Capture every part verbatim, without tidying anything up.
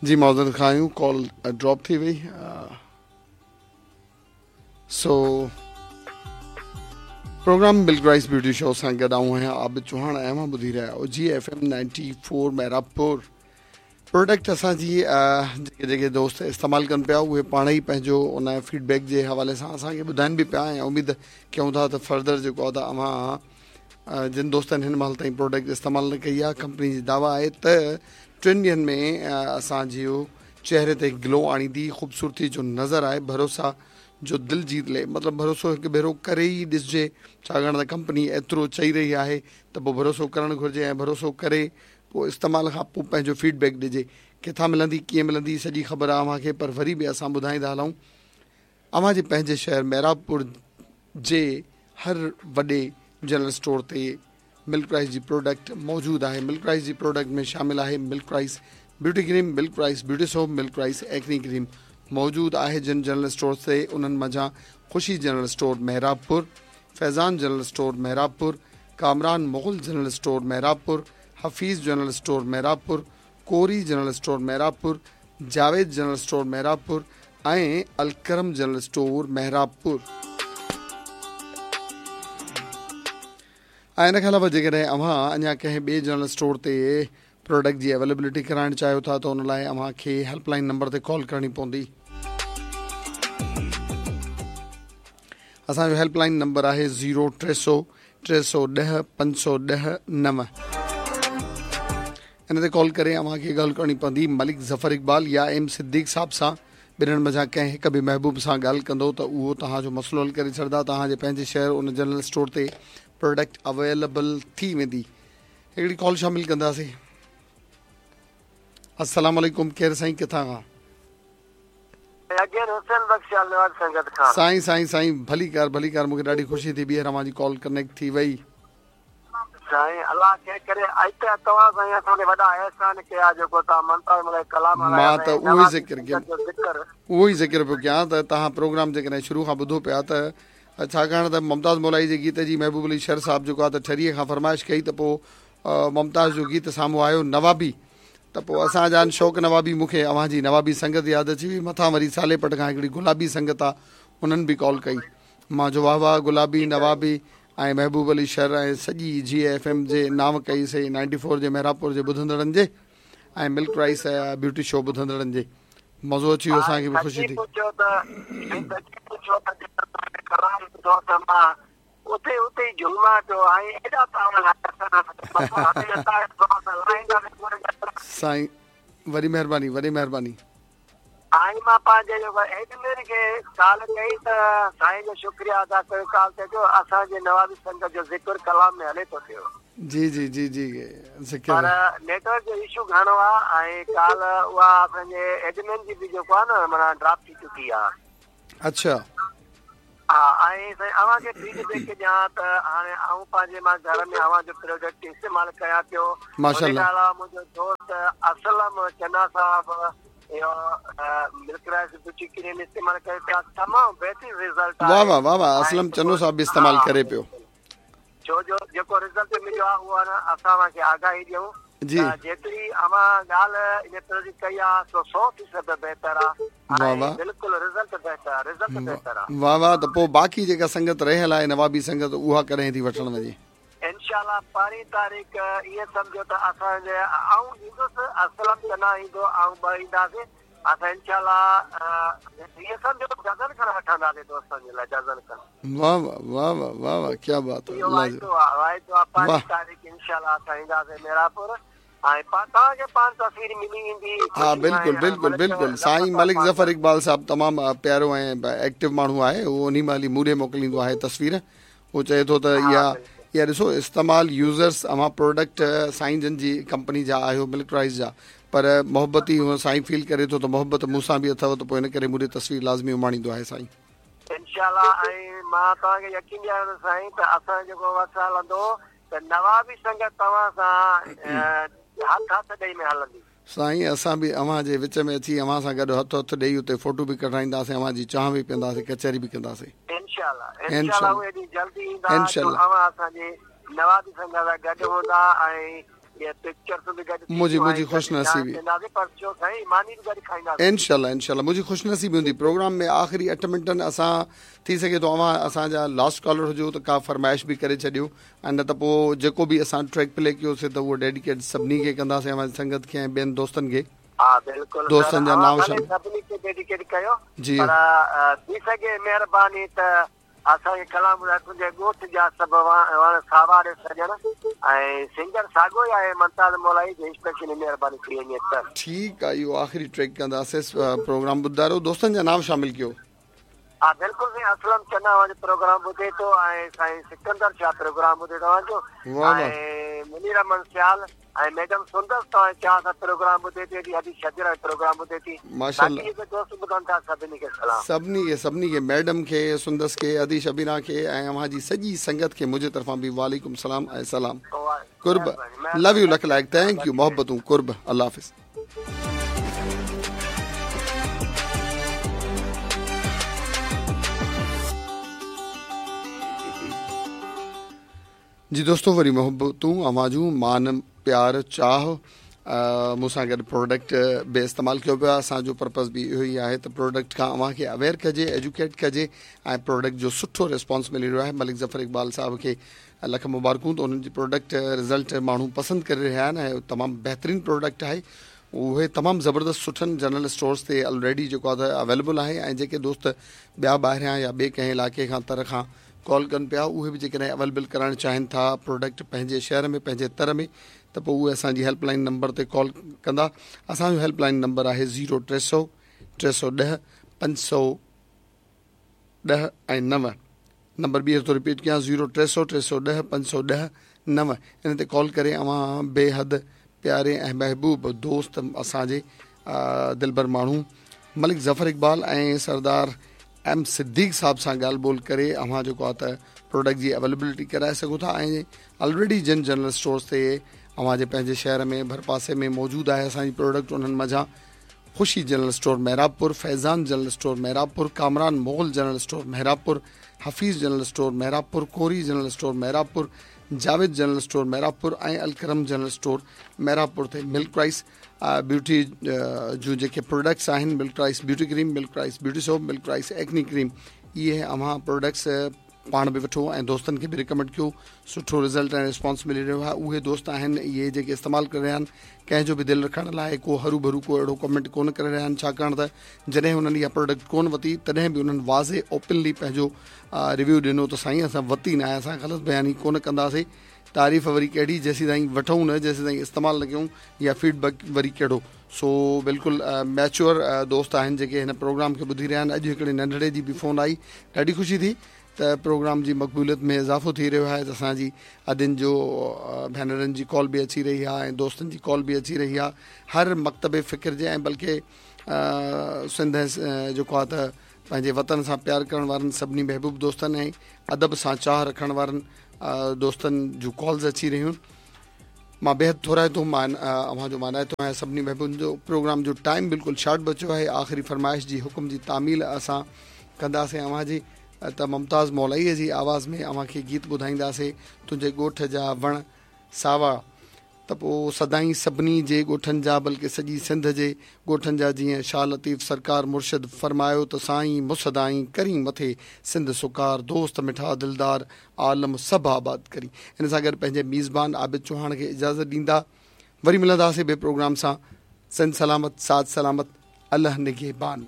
जी माज़रत ख़्वाह आहियूं, call drop थी वई। So programme Milk Rice beauty show सां गॾु आऊं आहियां आबिद चौहान ऐं अव्हां ॿुधी रहिया आहियो G F M ninety four Mehrabpur. Product असांजी जेके जेके दोस्त इस्तेमालु कनि पिया उहे पाण ई पंहिंजो उन फीडबैक जे हवाले सां असांखे ॿुधाइनि बि पिया ऐं उमेद कयूं था त फर्दर जेको आहे त अव्हां जिन दोस्तनि हिन महिल ताईं प्रोडक्ट इस्तेमालु न कई आहे, कंपनी जी दावा आहे त टिनि ॾींहंनि में असांजो चेहरे ते ग्लो आणींदी, ख़ूबसूरती जो नज़र आहे, भरोसा जो दिल जीत ले, मतिलबु भरोसो हिकु भेरो करे ई ॾिसजे, छाकाणि त कंपनी एतिरो चई रही आहे त पोइ भरोसो करणु घुरिजे ऐं भरोसो करे पोइ इस्तेमाल खां पोइ पंहिंजो फीडबैक ॾिजे। किथां मिलंदी कीअं मिलंदी सॼी ख़बर आहे अव्हांखे, पर वरी बि असां ॿुधाईंदा हलूं। अव्हांजे पंहिंजे शहर मेहराबपुर जे हर वॾे जनरल स्टोर ते मिल्क राइस जी प्रोडक्ट मौजूदु आहे। मिल्क राइस जी प्रोडक्ट में शामिल आहे Milk Rice beauty cream, Milk Rice beauty soap, Milk Rice acne cream मौजूदु आहे। जिन जनरल स्टोर ते उन्हनि मंझां Khushi general store Mehrabpur, Faizan general store Mehrabpur, Kamran Mughal general store Mehrabpur, Hafeez general store Mehrabpur, Kori general store Mehrabpur, Javed general store Mehrabpur ऐं Alkaram general store मेहराबपुर। ऐं इन खां अलावा जेकॾहिं अव्हां अञा कंहिं ॿिए जनरल स्टोर ते प्रोडक्ट जी अवेलेबिलिटी कराइणु चाहियो था त उन लाइ अव्हांखे हेल्पलाइन नंबर ते कॉल करणी पवंदी। असांजो हेल्पलाइन नंबर आहे ज़ीरो टे सौ टे सौ ॾह पंज सौ ॾह नव। इन ते कॉल करे अव्हांखे ॻाल्हि करणी पवंदी मलिक ज़फ़र इक़बाल या एम सिद्दीक साहब सां। ॿिन्हिनि मंझां कंहिं हिकु बि महबूब सां ॻाल्हि कंदो त उहो तव्हांजो मसइलो हल करे छॾींदा। तव्हांजे पंहिंजे शहर उन जनरल स्टोर ते प्रोडक्ट अवेलेबल थी वेंदी। हिकिड़ी कॉल शामिल कंदासीं। अस्सलाम वालेकुम, केरु साईं, किथां खां? साईं साईं साईं भली कार भली कार, मूंखे ॾाढी ख़ुशी थी ॿीहर अव्हांजी कॉल कनेक्ट थी वई। साईं अलाह खे करे अॼु तव्हां साईं असां ते वॾा अहसान कया जेको तव्हां ममता मल्ह कलाम मां त उहो ई ज़िक्र कयो, उहो ई ज़िक्र पियो कयां त तव्हां प्रोग्राम जेकॾहिं शुरू खां ॿुधो पिया त छाकाणि त मुमताज़ मौलाई जे गीत जी महबूब अली शर साहिबु जेको आहे त ठरीअ खां फरमाइश कई त पोइ मुमताज़ जो गीत साम्हूं आयो नवाबी, त पोइ असां जान शौक़ नवाबी मूंखे अव्हांजी नवाबी संगत यादि अची वई। मथां वरी साले पट खां हिकिड़ी गुलाबी संगत आहे, उन्हनि बि कॉल कई। मां जो वाह वाह गुलाबी नवाबी ऐं महबूब अली शर ऐं सॼी जी एफ एम जे नाम कई सही नाइंटी फोर जे मेहराबपुर जे ॿुधंदड़नि जे ऐं मिल्क राइस ब्यूटी शो ॿुधंदड़नि जे मज़ो अची वियो, असांखे बि ख़ुशी थी। साईं वॾी महिरबानी वॾी महिरबानी। ऐं मां पंहिंजे जेको एडमिन खे कॉल कई त साईं जो शुक्रिया अदा कयो कॉल ते जो असांजे नवाबी संगत जो ज़िक्र कलाम में हले थो पियो। जी जी जी जी ज़िक्र, पर नेटवर्क जो इशू घणो आहे ऐं कॉल उहा असांजे एडमिन जी बि जेको आहे न माना ड्रॉप थी चुकी आहे। अच्छा हा, ऐं साईं अव्हांखे फीडबैक ॾियां त हाणे आउं पंहिंजे मां घर में अव्हांजो प्रोडक्ट इस्तेमालु कयां पियो। माशाअल्लाह। अलावा मुंहिंजो दोस्त असलम चना साहिबु इहो मिल्क राइस ब्यूटी क्रीम इस्तेमालु करे पिया, तमामु बहितरीन रिज़ल्ट आहे। वाह वाह वाह वाह, असलम चनो साहिबु बि इस्तेमालु करे पियो। छो जो जेको रिज़ल्ट मिलियो आहे उहो न असां अव्हांखे आगाही ॾियूं जी। जेतिरी अव्हां ॻाल्हि इन तरह जी कई आहे सो सौ फ़ीसद बहितर आहे। वाह वाह, बिल्कुलु रिज़ल्ट बहितर आहे, रिज़ल्ट बहितर आहे। वाह वाह, त पोइ बाक़ी जेका संगत रहियल आहे नवाबी संगत उहा कॾहिं थी वठण वञे? इंशाअल्लाह पंहिरीं तारीख़ ईअं सम्झो त असांजे आउं ईंदुसि, असलम चना ईंदो, आउं ॿ ईंदासीं। असां इंशाअल्लाह ईअं सम्झो डज़न खण वठंदासीं दोस्तनि जे लाइ, डज़न खण। वाह वाह वाह वाह वाह वाह, क्या बात है। इहो वाइदो आहे, वाइदो आहे। पंहिरीं तारीख़ इंशाअल्लाह असां ईंदासीं मेरापुर ऐं तव्हांखे पाण तस्वीर मिली वेंदी। हा बिल्कुलु बिल्कुलु बिल्कुलु। साईं मलिक ज़फ़र इक़बाल साहिबु तमामु प्यारो ऐं एक्टिव माण्हू आहे, उहो उन्ही महिल ई मूं ॾे मोकिलींदो आहे तस्वीर। उहो चए थो त इहा इहा ॾिसो इस्तेमालु यूज़र्स अव्हां प्रोडक्ट साईं जन जी कंपनी जा आहियो मिल्क राइस जा, पर मोहबत ई हूअं साईं फील करे थो त मोहबत मूंसां बि अथव त पोइ इन करे मूं ॾे तस्वीर लाज़मी उमाणींदो आहे साईं। इंशाअल्लाह। ऐं मां तव्हांखे यकीन ॾियारियो साईं त असां जेको वक़्तु हलंदो त नवाबी संगत तव्हां सां हथु हथु ॾेई में हलंदी। साईं असां बि अव्हांजे विच में अची अव्हां सां गॾु हथु हथु ॾेई उते फोटो बि कढाईंदासीं, अव्हांजी चांहि बि पीअंदासीं, कचहरी बि कंदासीं। इंशाअल्लाह इंशाअल्लाह, उहे ॾींहुं जल्दी ईंदा, अव्हां असांजे नवाबी संगत सां गॾु हूंदा ऐं मुंहिंजी मुंहिंजी ख़ुशि नसीबी इंशाल्लाह इंशाल्लाह मुंहिंजी ख़ुशि नसीबी हूंदी। प्रोग्राम में आख़िरी अठ मिंटनि असां थी सघे थो अव्हां असांजा लास्ट कॉलर हुजो त का फरमाइश बि करे छॾियो ऐं न त पोइ जेको बि असां ट्रैक प्ले कयोसीं त उहो डेडिकेट सभिनी खे कंदासीं, अव्हांजी संगत खे ऐं ॿियनि दोस्तनि खे। हा बिल्कुलु, दोस्तनि जा नाम सभिनी खे डेडिकेट कयो जी। पर थी सघे महिरबानी त असांखे कलाम तुंहिंजे ॻोठ जा सभु वण सावा ॾे सॼण ऐं सिंगर साॻियो ई आहे मुमताज़ मौलाई जी स्पेशली महिरबानी थी वञे त ठीकु आहे। इहो आख़िरी ट्रैक कंदासीं प्रोग्राम ॿुधायो, दोस्तनि जा नाम शामिल कयो। हा बिल्कुलु साईं, असलम चना अव्हांजो प्रोग्राम ॿुधे थो ऐं साईं सिकंदर शाह प्रोग्राम ॿुधे थो अव्हांजो ऐं मुनीर अहमद सियाल ऐं मैडम सुंदर तव्हां चाह सां प्रोग्राम ॿुधे थी, अॼु शजरा प्रोग्राम ॿुधे थी। माशाअल्लाह, जेके दोस्त ॿुधनि था सभिनी खे सलाम, सभिनी खे सभिनी खे, मैडम खे, सुंदस खे, अदी शबीरा खे ऐं अव्हां जी सॼी संगत खे मुंहिंजे तरफ़ां बि वालेकुम सलाम ऐं सलाम। कुर्ब, लव you, lakh लाइक़, thank you, मोहब्बतूं, कुर्ब, अल्लाह हाफ़िज़। जी दोस्तों, वरी मोहब्बतूं अव्हां जूं, मान प्यार चाह मूंसां गॾु प्रोडक्ट बि इस्तेमालु कयो पियो आहे। असांजो पर्पज़ बि इहो ई आहे त प्रोडक्ट खां अव्हांखे अवेयर कजे, एजुकेट कजे ऐं प्रोडक्ट जो सुठो रिस्पॉन्स मिली रहियो आहे। मलिक ज़फ़र इक़बाल साहब खे लख मुबारकूं त उन्हनि जी प्रोडक्ट रिज़ल्ट माण्हू पसंदि करे रहिया आहिनि ऐं तमामु बहितरीन प्रोडक्ट आहे। उहे तमामु ज़बरदस्त सुठनि जनरल स्टोर्स ते ऑलरेडी जेको आहे त अवेलेबल आहे ऐं जेके दोस्त ॿिया ॿाहिरियां या ॿिए कंहिं इलाइक़े खां तर खां कॉल कनि पिया उहे बि जेकॾहिं अवेलेबल कराइणु चाहिनि था प्रोडक्ट पंहिंजे शहर में पंहिंजे तर में त पोइ उहे असांजी हेल्पलाइन नंबर ते कॉल कंदा। असांजो हेल्पलाइन नंबर आहे ज़ीरो टे सौ टे सौ ॾह पंज सौ ॾह ऐं नव। नंबर ॿीहर थो रिपीट कयां, ज़ीरो टे सौ टे सौ ॾह पंज सौ ॾह नव। इन ते कॉल करे अव्हां बेहद प्यारे ऐं महबूब दोस्त असांजे दिलबर माण्हू मलिक ज़फ़र इक़बाल ऐं सरदार एम सिद्दीक साहब सां ॻाल्हि ॿोल करे अव्हां जेको आहे त प्रोडक्ट जी अवेलेबिलिटी कराए सघो था ऐं ऑलरेडी जिन जनरल स्टोर्स ते अव्हांजे पंहिंजे शहर में भरपासे में मौजूदु आहे असांजी प्रोडक्ट, उन्हनि मंझां Khushi general store Mehrabpur, Faizan general store Mehrabpur, Kamran Mughal general store Mehrabpur, Hafeez general store Mehrabpur, Kori general store Mehrabpur, Javed general store Mehrabpur ऐं अलकरम जनरल स्टोर मेहराबपुर ते मिल्क राइस ब्यूटी जूं जेके products आहिनि, milk rice beauty cream, milk rice beauty soap, milk rice acne cream, इहे अव्हां products पाण बि वठो ऐं दोस्तनि खे बि रिकमेंड कयो। सुठो रिज़ल्ट ऐं रिस्पॉन्स मिली रहियो आहे। उहे दोस्त आहिनि इहे जेके इस्तेमालु करे रहिया आहिनि, कंहिंजो बि दिलि रखण लाइ को हरू भरू को अहिड़ो कमेंट कोन करे रहिया आहिनि, छाकाणि त जॾहिं हुननि इहा प्रोडक्ट कोन वरिती तॾहिं बि उन्हनि वाज़े ओपनली पंहिंजो रिव्यू ॾिनो त साईं असां वरिती न आहे, असां ग़लति बयानी कोन कंदासीं। तारीफ़ वरी कहिड़ी, जेसीं ताईं वठूं न, जेसीं ताईं इस्तेमालु न कयूं, या फीडबैक वरी कहिड़ो। सो बिल्कुलु मैच्योर दोस्त आहिनि जेके हिन प्रोग्राम खे ॿुधी रहिया आहिनि। अॼु हिकिड़ी नंढड़े जी बि फ़ोन आई, ॾाढी ख़ुशी थी त प्रोग्राम जी मक़बूलियत में इज़ाफ़ो थी रहियो आहे। त असांजी अदिनि जो भेनरनि जी कॉल बि अची रही आहे ऐं दोस्तनि जी कॉल बि अची रही आहे, हर मकतब फ़िक्र जे ऐं बल्कि सिंध जेको आहे त पंहिंजे वतन सां प्यार करण वारनि सभिनी महबूब दोस्तनि ऐं अदब सां चाह रखण वारनि दोस्तनि जूं कॉल्स अची रहियूं। मां बेहद थोराइतो मान अव्हांजो मानाइतो आहियां सभिनी महबूबनि जो। प्रोग्राम जो टाइम बिल्कुलु शॉर्ट बचियो आहे। आख़िरी फरमाइश जी हुकुम जी तामील असां कंदासीं अव्हांजी त मुमताज़ मौलाईअ जी आवाज़ में अव्हांखे गीत ॿुधाईंदासीं, तुंहिंजे ॻोठ जा वण सावा। त पोइ सदाईं सभिनी जे ॻोठनि जा बल्कि सॼी सिंध जे ॻोठनि जा, जीअं शाह लतीफ़ सरकार मुर्शिद फरमायो त साईं मुसदाईं करी मथे सिंध सुकार, दोस्त मिठा दिलदार आलम सभु आबाद करी। इन सां गॾु पंहिंजे मेज़बान आबिद चौहान खे इजाज़त ॾींदा, वरी मिलंदासीं ॿिए प्रोग्राम सां। सिंध सलामत, साथ सलामत, अल्लाह निगहबान।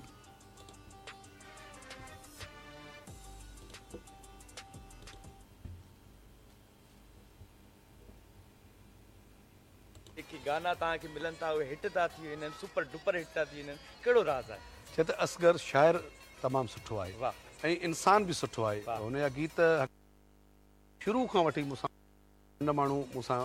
गाना तव्हांखे मिलनि था उहे हिट था थी वञनि, सुपर डुपर हिट था थी वञनि, कहिड़ो राज़ आहे? छो त असगर शाइर तमामु सुठो आहे वाह ऐं इंसान बि सुठो आहे। हुनजा गीत शुरू खां वठी मूंसां माण्हू मूंसां